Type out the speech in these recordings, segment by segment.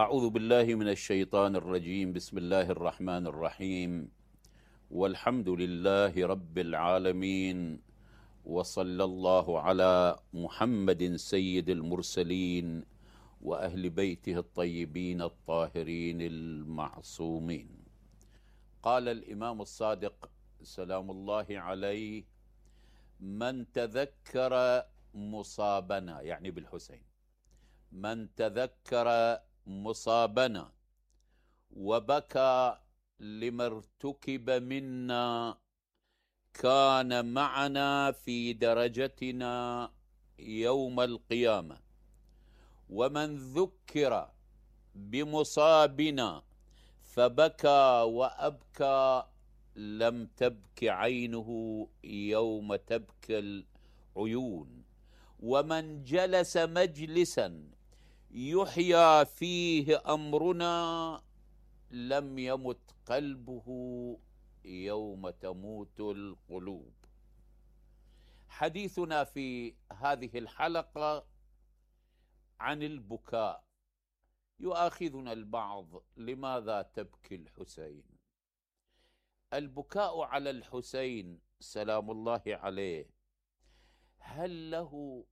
أعوذ بالله من الشيطان الرجيم. بسم الله الرحمن الرحيم. والحمد لله رب العالمين، وصلى الله على محمد سيد المرسلين وأهل بيته الطيبين الطاهرين المعصومين. قال الإمام الصادق سلام الله عليه: من تذكر مصابنا، يعني بالحسين، من تذكر مصابنا وبكى لما ارتكب منا كان معنا في درجتنا يوم القيامة، ومن ذكر بمصابنا فبكى وأبكى لم تبك عينه يوم تبكي العيون، ومن جلس مجلسا يحيى فيه أمرنا لم يمت قلبه يوم تموت القلوب. حديثنا في هذه الحلقة عن البكاء. يؤاخذنا البعض: لماذا تبكي الحسين؟ البكاء على الحسين سلام الله عليه هل له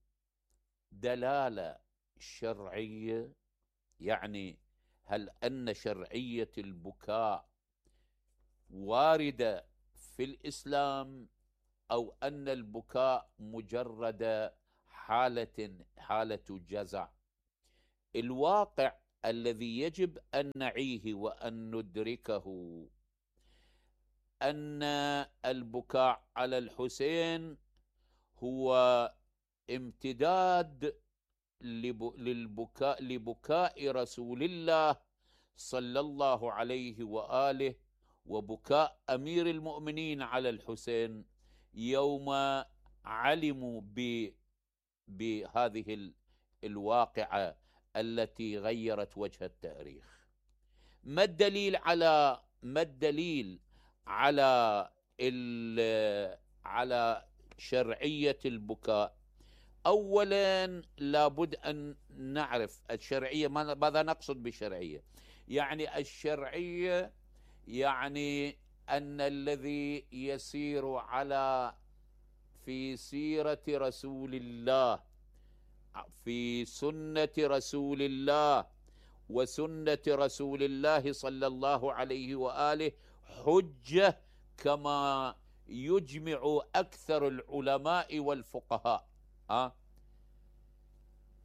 دلالة شرعية؟ يعني هل أن شرعية البكاء واردة في الإسلام، أو أن البكاء مجرد حالة جزع؟ الواقع الذي يجب أن نعيه وأن ندركه أن البكاء على الحسين هو امتداد لبكاء رسول الله صلى الله عليه وآله، وبكاء أمير المؤمنين على الحسين يوم علموا بهذه الواقعة التي غيرت وجه التاريخ. ما الدليل على شرعية البكاء؟ أولا لابد أن نعرف الشرعية. ماذا نقصد بالشرعية؟ يعني الشرعية يعني أن الذي يسير في سيرة رسول الله، في سنة رسول الله وسنة رسول الله صلى الله عليه وآله حجة، كما يجمع أكثر العلماء والفقهاء.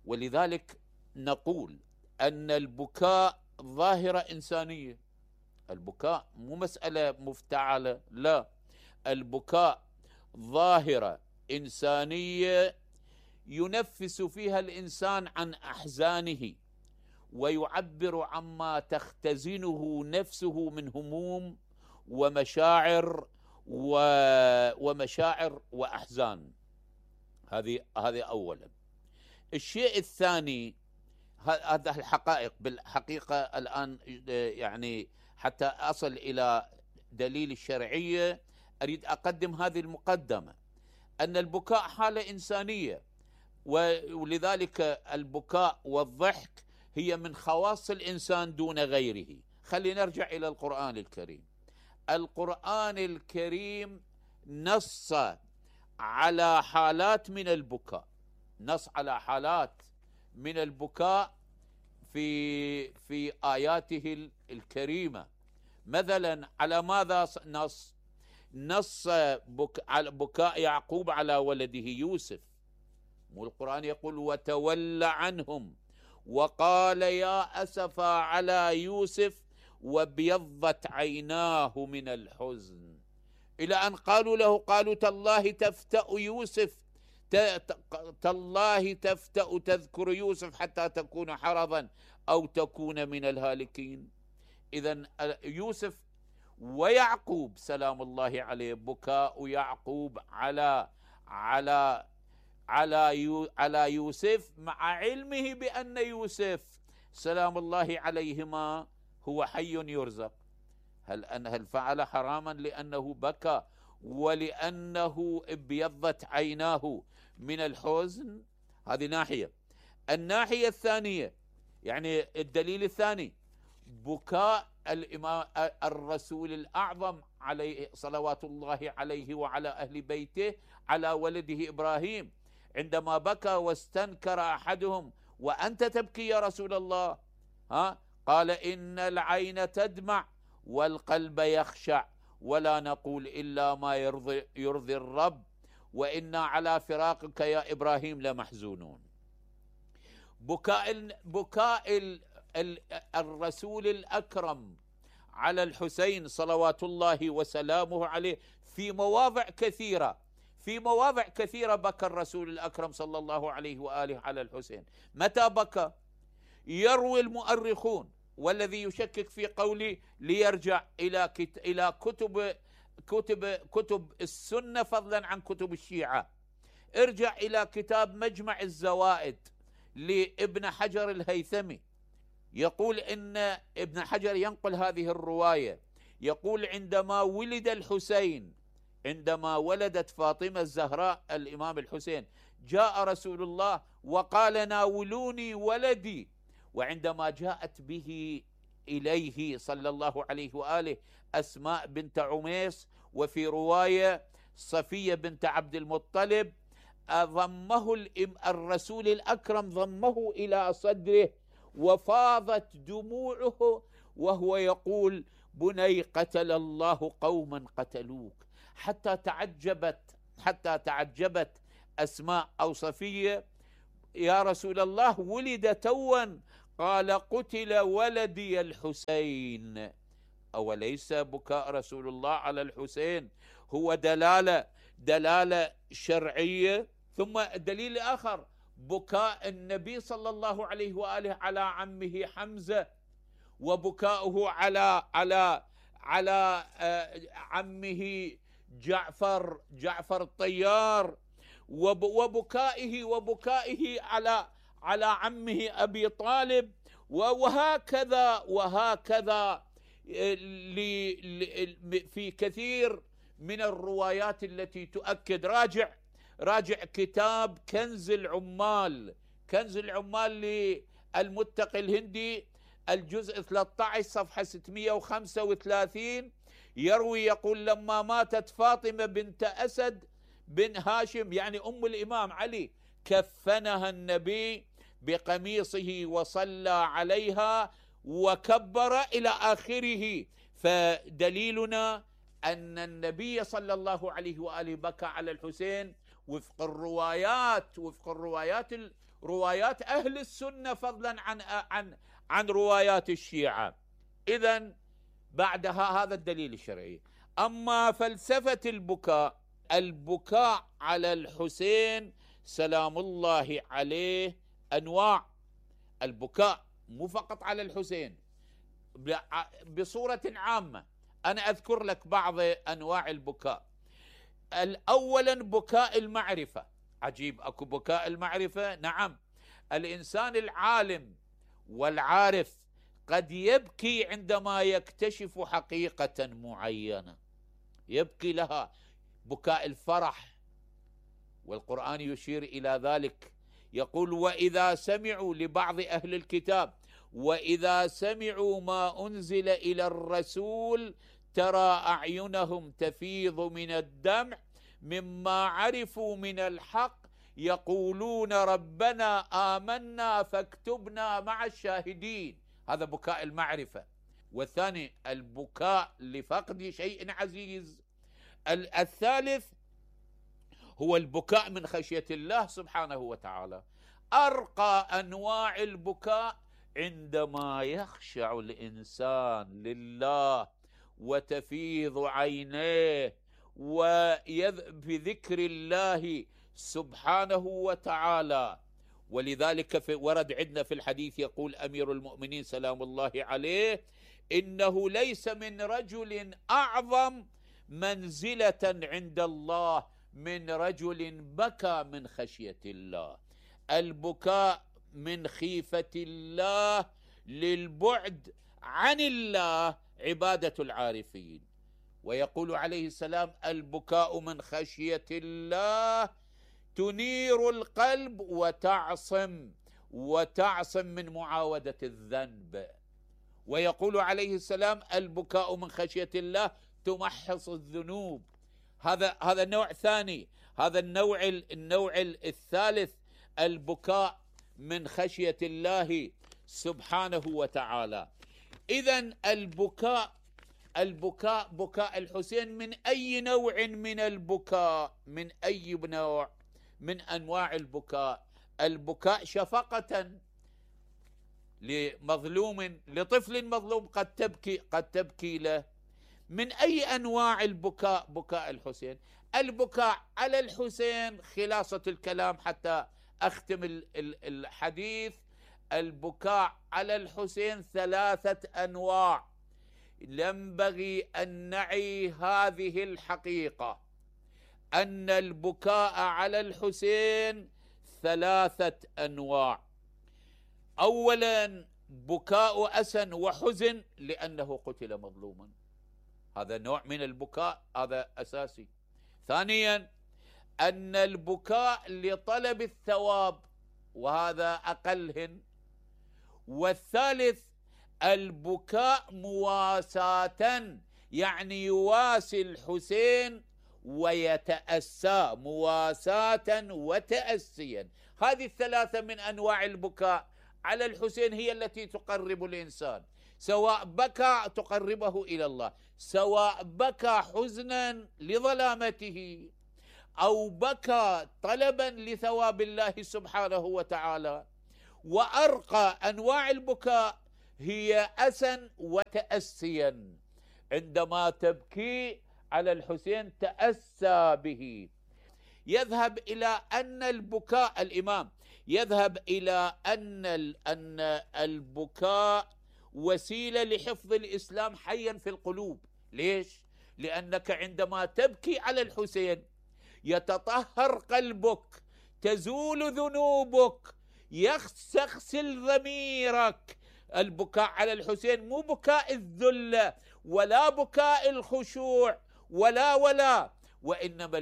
ولذلك نقول أن البكاء ظاهرة إنسانية. البكاء مو مسألة مفتعلة، لا، البكاء ظاهرة إنسانية ينفس فيها الإنسان عن أحزانه ويعبر عما تختزنه نفسه من هموم ومشاعر وأحزان. هذه أولا. الشيء الثاني، هذا الحقائق بالحقيقة الآن، يعني حتى أصل إلى دليل الشرعية أريد أقدم هذه المقدمة: أن البكاء حالة إنسانية، ولذلك البكاء والضحك هي من خواص الإنسان دون غيره. خلينا نرجع إلى القرآن الكريم. القرآن الكريم نص على حالات من البكاء، نص على حالات من البكاء في آياته الكريمة. مثلا على ماذا نص على بكاء يعقوب على ولده يوسف. والقرآن يقول: وتولى عنهم وقال يا أسفا على يوسف وابيضت عيناه من الحزن، إلى أن قالوا تالله تفتأ يوسف، تالله تفتأ تذكر يوسف حتى تكون حرضا أو تكون من الهالكين. إذن يوسف ويعقوب سلام الله عليه، بكاء يعقوب على يوسف مع علمه بأن يوسف سلام الله عليهما هو حي يرزق. هل فعل حراما لأنه بكى ولأنه ابيضت عيناه من الحزن؟ هذه ناحية. الناحية الثانية، يعني الدليل الثاني بكاء الإمام الرسول الأعظم عليه صلوات الله عليه وعلى أهل بيته على ولده إبراهيم عندما بكى واستنكر أحدهم: وأنت تبكي يا رسول الله؟ قال: إن العين تدمع والقلب يخشع ولا نقول إلا ما يرضي الرب وإنا على فراقك يا إبراهيم لمحزونون. بكاء الرسول الأكرم على الحسين صلوات الله وسلامه عليه في مواضع كثيرة بكى الرسول الأكرم صلى الله عليه وآله على الحسين. متى بكى؟ يروي المؤرخون، والذي يشكك في قولي ليرجع إلى كتب السنة فضلا عن كتب الشيعة. ارجع إلى كتاب مجمع الزوائد لابن حجر الهيثمي، يقول إن ابن حجر ينقل هذه الرواية، يقول: عندما ولد الحسين، عندما ولدت فاطمة الزهراء الإمام الحسين، جاء رسول الله وقال: ناولوني ولدي. وعندما جاءت به إليه صلى الله عليه وآله أسماء بنت عميس، وفي رواية صفية بنت عبد المطلب، ضمه الرسول الأكرم ضمه إلى صدره وفاضت دموعه وهو يقول: بني قتل الله قوما قتلوك. حتى تعجبت أسماء أو صفية: يا رسول الله ولد توا. قال: قتل ولدي الحسين. أوليس بكاء رسول الله على الحسين هو دلالة شرعية؟ ثم الدليل الآخر بكاء النبي صلى الله عليه وآله على عمه حمزة، وبكاؤه على عمه جعفر الطيار، وبكائه على عمه أبي طالب، وهكذا في كثير من الروايات التي تؤكد. راجع كتاب كنز العمال للمتقي الهندي، الجزء 13 صفحة 635، يروي يقول: لما ماتت فاطمة بنت أسد بن هاشم، يعني أم الإمام علي، كفنها النبي بقميصه وصلى عليها وكبر إلى آخره. فدليلنا أن النبي صلى الله عليه وآله بكى على الحسين وفق روايات أهل السنة فضلا عن روايات الشيعة. إذن بعدها هذا الدليل الشرعي. أما فلسفة البكاء على الحسين سلام الله عليه أنواع. البكاء مو فقط على الحسين، بصورة عامة. أنا أذكر لك بعض أنواع البكاء. أولا بكاء المعرفة. عجيب، أكو بكاء المعرفة. نعم، الإنسان العالم والعارف قد يبكي عندما يكتشف حقيقة معينة، يبكي لها، بكاء الفرح، والقرآن يشير إلى ذلك، يقول: وإذا سمعوا، لبعض أهل الكتاب، وإذا سمعوا ما أنزل إلى الرسول ترى أعينهم تفيض من الدمع مما عرفوا من الحق يقولون ربنا آمنا فاكتبنا مع الشاهدين. هذا بكاء المعرفة. والثاني البكاء لفقد شيء عزيز. الثالث هو البكاء من خشية الله سبحانه وتعالى. أرقى أنواع البكاء عندما يخشع الإنسان لله وتفيض عينيه بذكر الله سبحانه وتعالى. ولذلك ورد عندنا في الحديث، يقول أمير المؤمنين سلام الله عليه: إنه ليس من رجل أعظم منزلة عند الله من رجل بكى من خشية الله. البكاء من خيفة الله للبعد عن الله عبادة العارفين. ويقول عليه السلام: البكاء من خشية الله تنير القلب وتعصم، وتعصم من معاودة الذنب. ويقول عليه السلام: البكاء من خشية الله تمحص الذنوب. هذا نوع ثاني. هذا النوع الثالث، البكاء من خشية الله سبحانه وتعالى. إذن البكاء بكاء الحسين من أي نوع من البكاء، من أي نوع من أنواع البكاء. البكاء شفقة لمظلوم، لطفل مظلوم قد تبكي له. من أي أنواع البكاء؟ بكاء الحسين. البكاء على الحسين، خلاصة الكلام حتى أختم الحديث، البكاء على الحسين 3 أنواع. ينبغي أن نعي هذه الحقيقة، أن البكاء على الحسين 3 أنواع. أولا بكاء أسى وحزن لأنه قتل مظلوما، هذا نوع من البكاء، هذا أساسي. ثانيا أن البكاء لطلب الثواب، وهذا أقلهن. والثالث البكاء مواساة، يعني يواسي الحسين ويتأسى، مواساة وتأسيا. هذه 3 من أنواع البكاء على الحسين هي التي تقرب الإنسان، سواء بكى تقربه إلى الله، سواء بكى حزنا لظلامته أو بكى طلبا لثواب الله سبحانه وتعالى. وأرقى أنواع البكاء هي أسا وتأسيا. عندما تبكي على الحسين تأسى به. يذهب إلى أن البكاء، الإمام يذهب إلى أن البكاء وسيلة لحفظ الإسلام حيا في القلوب. ليش؟ لأنك عندما تبكي على الحسين يتطهر قلبك، تزول ذنوبك، يغسل ضميرك. البكاء على الحسين مو بكاء الذلة ولا بكاء الخشوع ولا وإنما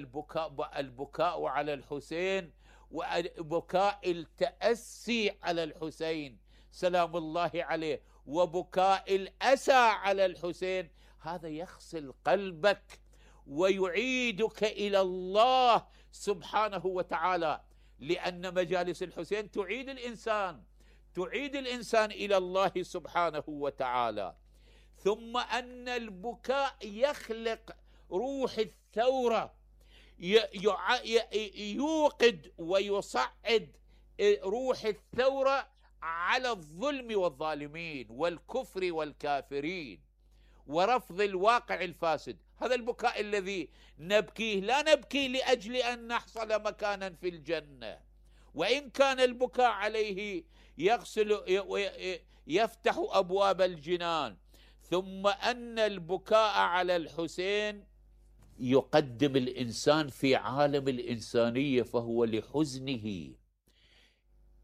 البكاء على الحسين وبكاء التأسي على الحسين سلام الله عليه، وبكاء الأسى على الحسين. هذا يغسل قلبك ويعيدك إلى الله سبحانه وتعالى، لأن مجالس الحسين تعيد الإنسان إلى الله سبحانه وتعالى. ثم أن البكاء يخلق روح الثورة، يوقد ويصعد روح الثورة على الظلم والظالمين والكفر والكافرين ورفض الواقع الفاسد. هذا البكاء الذي نبكيه، لا نبكي لأجل أن نحصل مكانا في الجنة، وإن كان البكاء عليه يفتح أبواب الجنان. ثم أن البكاء على الحسين يقدم الإنسان في عالم الإنسانية، فهو لحزنه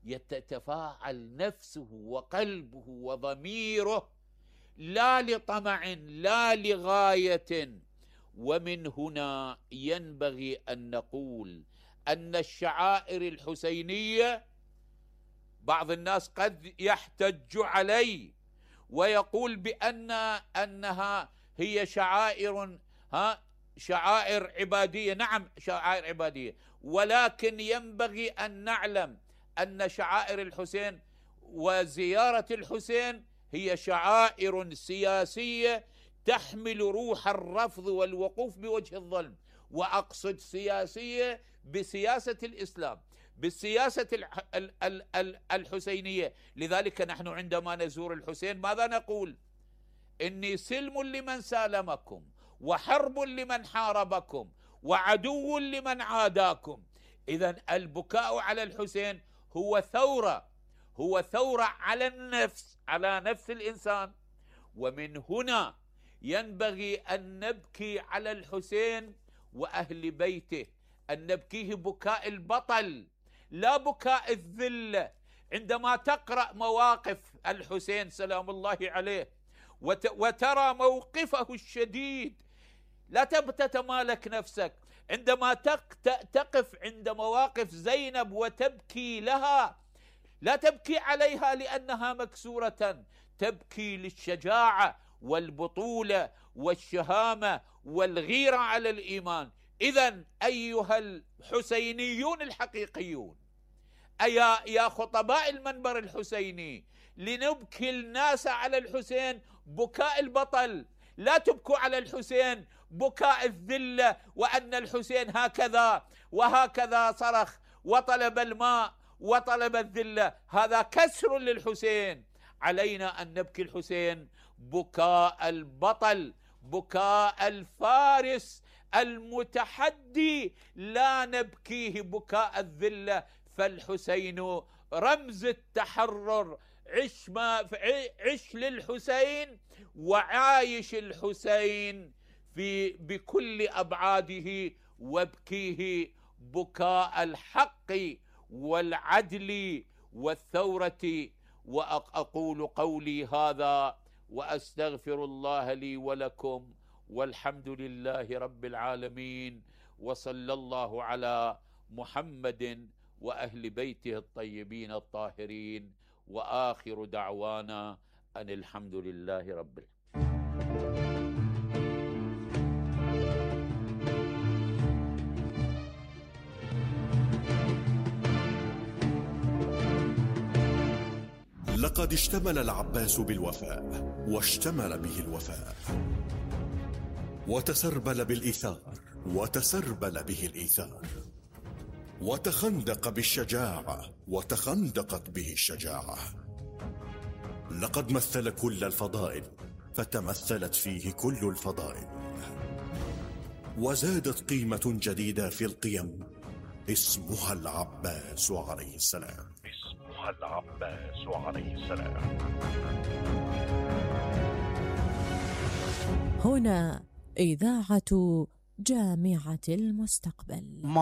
يتفاعل نفسه وقلبه وضميره، لا لطمع لا لغاية. ومن هنا ينبغي أن نقول أن الشعائر الحسينية، بعض الناس قد يحتج علي ويقول أنها هي شعائر عبادية. نعم شعائر عبادية، ولكن ينبغي أن نعلم أن شعائر الحسين وزيارة الحسين هي شعائر سياسية تحمل روح الرفض والوقوف بوجه الظلم. وأقصد سياسية بسياسة الإسلام، بالسياسة الحسينية. لذلك نحن عندما نزور الحسين ماذا نقول؟ إني سلم لمن سالمكم، وحرب لمن حاربكم، وعدو لمن عاداكم. إذن البكاء على الحسين هو ثورة على النفس، على نفس الإنسان. ومن هنا ينبغي أن نبكي على الحسين وأهل بيته، أن نبكيه بكاء البطل لا بكاء الذلة. عندما تقرأ مواقف الحسين سلام الله عليه وترى موقفه الشديد، لا تتمالك نفسك. عندما تقف عند مواقف زينب وتبكي لها، لا تبكي عليها لأنها مكسورة، تبكي للشجاعة والبطولة والشهامة والغيرة على الإيمان. إذن أيها الحسينيون الحقيقيون، يا خطباء المنبر الحسيني، لنبكي الناس على الحسين بكاء البطل، لا تبكوا على الحسين بكاء الذلة، وأن الحسين هكذا وهكذا صرخ وطلب الماء وطلب الذلة، هذا كسر للحسين. علينا أن نبكي الحسين بكاء البطل، بكاء الفارس المتحدي، لا نبكيه بكاء الذلة. فالحسين رمز التحرر، عش للحسين وعايش الحسين بكل أبعاده، وابكيه بكاء الحق والعدل والثورة. وأقول قولي هذا وأستغفر الله لي ولكم، والحمد لله رب العالمين، وصلى الله على محمد وأهل بيته الطيبين الطاهرين، وآخر دعوانا أن الحمد لله رب العالمين. لقد اشتمل العباس بالوفاء، واشتمل به الوفاء، وتسربل بالإيثار، وتسربل به الإيثار، وتخندق بالشجاعة، وتخندقت به الشجاعة. لقد مثل كل الفضائل، فتمثلت فيه كل الفضائل، وزادت قيمة جديدة في القيم، اسمها العباس عليه السلام. اسمها العباس عليه السلام. هنا إذاعة جامعة المستقبل.